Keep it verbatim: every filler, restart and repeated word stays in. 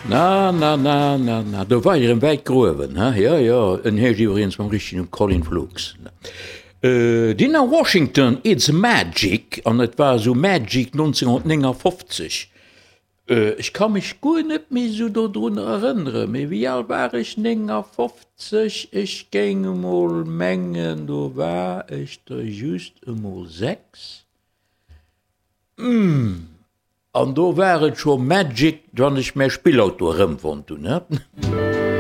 Na, na, na, na, na, do war erëm wäit gruewen, he? Jo, jo, en heescht iwwregens mam richtegen Numm Colin Flux. Dinah Washington, It's Magic, an et war esou Magic nonzénghonnertnéngafofzeg. Ech ka mech guer net méi esou dodrun erënneren, mee wéi al war ech? néngafofzeg, ech géing emol mengen, do war ech der just emol sechs. An do war et scho Magic, wann ech mäi Spillauto erëmfonnt hunn, he?